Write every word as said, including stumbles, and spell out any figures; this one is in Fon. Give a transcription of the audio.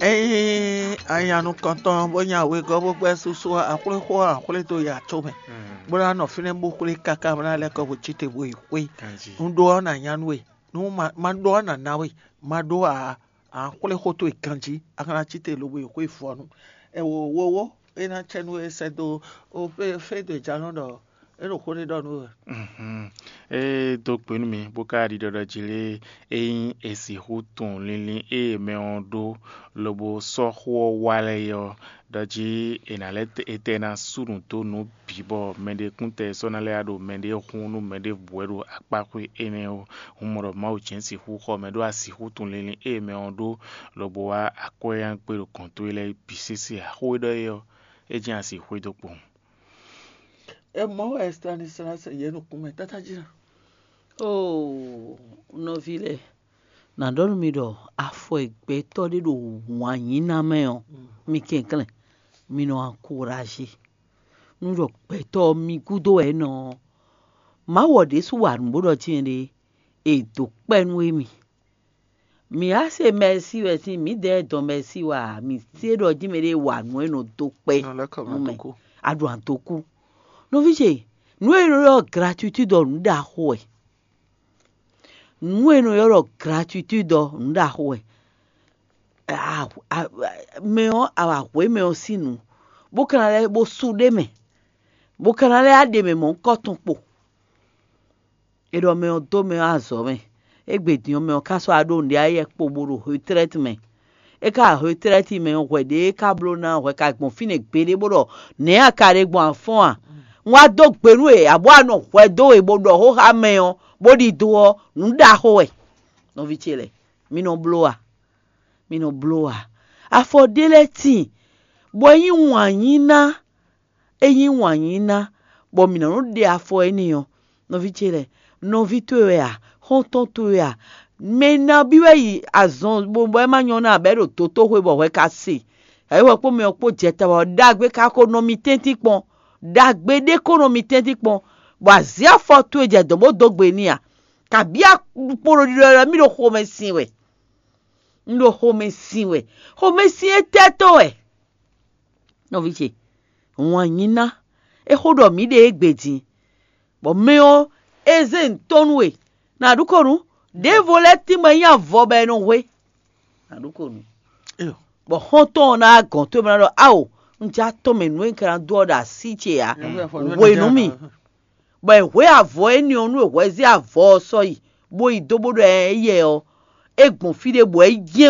Ényí a nya nukɔntɔn bó nya wegɔ́ bó gbɛ́ susu ɔ́, a xwlé xó ɔ́, a xwlé dó ya có mɛ, bó ná nɔ fínɛ́ bó xwlé káká bó ná lɛ́ kɔ bó cí te bó yi xwé. Un ɖó ɔ́, nǎ nya nú we; nú ma ɖó ɔ́, nǎ ná we; ma ɖó ǎ, a xwlé xó towe ganjí, a ka ná cí te lobo yi xwé vɔ̌nu. Ɛ wo wowo é ná cɛ nú we sɛ́ dó o fé fé dó jalɔ́n ɖɔ é ɖo xó ɖé ɖɔ nú we. É dó gbe nú mi bó ka ɖiɖɔ ɖɔ jí lé, ényí è sixú tunwun linlin e mɛ ɔ́ ɖó, lobo sɔ́ xó ɔ́ wa lɛ́ɛ é ɔ́, ɖɔ jí è nǎ lɛ́ etɛ́ ná sú nǔ dó nǔ bǐ bɔ mɛɖekúntɛ sɔ́ ná lɛ́ wá ɖo mɛɖé hun nú mɛɖěbǔ wɛ ɖo akpáxwé énɛ́ ó. Un mɔ ɖɔ Mawu jɛ́n sixú xɔ mɛ ɖó a sixú tunwun linlin e mɛ ɔ́ ɖó, lobo wá akwɛ́yángbe ɖo gɔ̌n towe lɛ́ɛ bǐ sésé ǎ. Xó e ɖɔ é ɔ́, é jɛ́n a sixú xwedó kpowun. É mɔ wɛ Stanislas yě nukún mɛ tátájí ná. Oo, nɔví lɛ́ɛ, nǎ ɖɔ nú mi ɖɔ afɔ e gbɛtɔ́ ɖé ɖo wǎn yí ná mɛ ɔ́, mi kɛnklɛ́n, mi nɔ ankurají. Nú ɖɔ gbɛtɔ́ ɔ́ mi gúdo wɛ é nɔ ɔ́, Mawu ɔ́ ɖésú wa nǔ bó ɖɔ jɛ́n ɖé, è dǒ kpɛ́ nú émí. Mǐ á se mɛsí wɛ sín mǐdɛɛ dɔn mɛsí wɛ a? Mǐ se ɖɔ jí mɛɖé wa nǔ e nɔ dó kpɛ́ nú mɛ, a ɖo adokú. Nɔví ce, nǔ e nɔ ylɔ́ gratuitúd ɔ́ nǔ ɖaxó wɛ. Nǔ e nɔ ylɔ́ gratuitúd ɔ́ nǔ ɖaxó wɛ. Mɛ ɔ́, a wa hwě mɛ ɔ́ sín nǔ, bó ka ná lɛ́ bó sú ɖ'é mɛ, bó ka ná lɛ́ wá ɖe mɛ mɔ̌hunkɔtɔn kpo. È ɖɔ mɛ ɔ́ dó mɛ ɔ́ azɔ̌ mɛ. Égbé din ɔ́, mɛ ɔ́ ka sɔ́ wá ɖó nǔɖé ayɛ kpo bó ɖo retraite mɛ. É ka retraite mɛ ɔ́, hwɛ ɖě é ka bló ná hwɛ ka gbɔn fínɛ́ gbeɖé bó ɖɔ nɛ̌ a ka ɖe gbɔn afɔ́n a? Un wá dó gbe nú we, abǒ a nɔ hwɛ dó we bó ɖɔ xó xá mɛ ɔ́, bó ɖidó ɔ́, nǔ ɖaxó wɛ. Nɔví ce lɛ́ɛ, mi nɔ bló a? Mi nɔ bló a? Afɔ ɖé lɛ́ɛ tíin, bɔ é nyí wǎn yí ná. É nyí wǎn yí ná, bɔ mǐ nɔ nɔ ɖe afɔ énɛ́ ɔ́, nɔví ce lɛ́ɛ, nɔví towe wɛ a? Xɔ́ntɔn towe wɛ a? Mɛ nabí wɛ yi azɔn bó bɔ é má nyɔ́ ná abɛ ɖo dotóxwé bɔ hwɛ ka se? Ayǐ hwɛ kpó mɛ ɔ́ kpó jɛ ta wɛ ɔ́, ɖagbe ka ko nɔ mi tɛ́ntin kpɔn, ɖagbe ɖé ko nɔ mi tɛ́ntin kpɔn, bɔ azǐ afɔ towe jɛ dɔ̌n bó dó gbe n'i a? Kabí a kpo ɖo ɖiɖɔ ɖɔ mì ɖo xomɛ sin wɛ. Un ɖo xomɛ sin wɛ. Xomɛ sin étɛ́ tɔn wɛ? Nɔví ce, wǎn yí ná, é xó ɖɔ mǐ ɖe égbé din, bɔ mɛ ɔ́, é zé ntɔ́ nú we, nǎ ɖu kɔ nǔ, ɖěvo lɛ́ɛ tínmɛ nyí avɔ bɔ è nɔ hwe, nǎ ɖu kɔ nǔ. Bɔ xɔ́ntɔn ɔ́ ná wá gɔ̌n towe bó ná ɖɔ: Ao, un jɛ atɔ́ mɛ nǔ e un ka ná dó ɔ́ ɖo así ce ǎ, hwe nú mì. Bɔ è hwě avɔ énɛ́ ɔ́ nú è hwɛ zé avɔ ɔ́ sɔ́ yi, bó yi dó bó ɖɔ éyɛ́ ɔ́, é gbɔn fí ɖé bɔ é jɛ́n